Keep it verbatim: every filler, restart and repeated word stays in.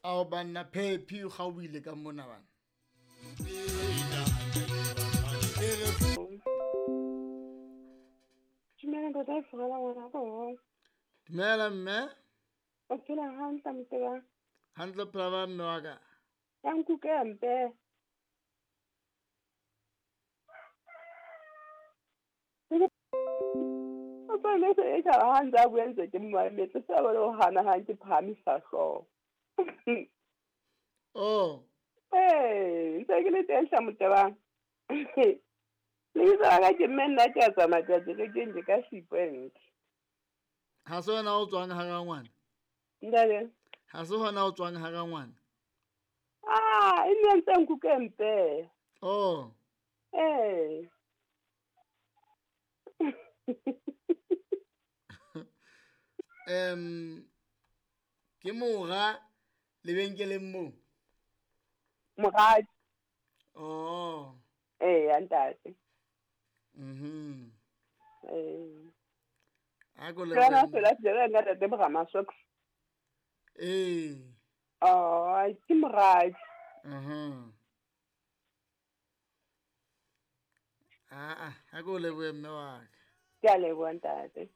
Ao banna Phephi o kgaohile ka mona bana. Dumela ntate Furela ngwana ko. Dumela mme. O phela hantle moteba. Hantle phela ba mme wa ka. Ya nkuke mpe. O tsone se e ka ha ntse a bua ntse ke mmametse se ba le ho hana ha ke phahamisa hlooho. Oh. Eh, ntse ke le teng hla moteba. Le itse ka ke mme nna ke a tsamaya ke a kerekeng ke ka sequence. Ha se wena o tswang hara ngwana? Ntate. Ha se hona o tswang hara ngwana? Ah, e ne ntse nkuke mpe. Oh. Eh. Em ke mora lebenkeleng moo. Moradi. Oh. Eh, ntate. Mhm. Eh. A go le. Kana fela tsela nka tate bra masok. Eh. Oh, ke moradi. Mhm. Ah ah, a go le mme wa ka. Ke a leboha ntate.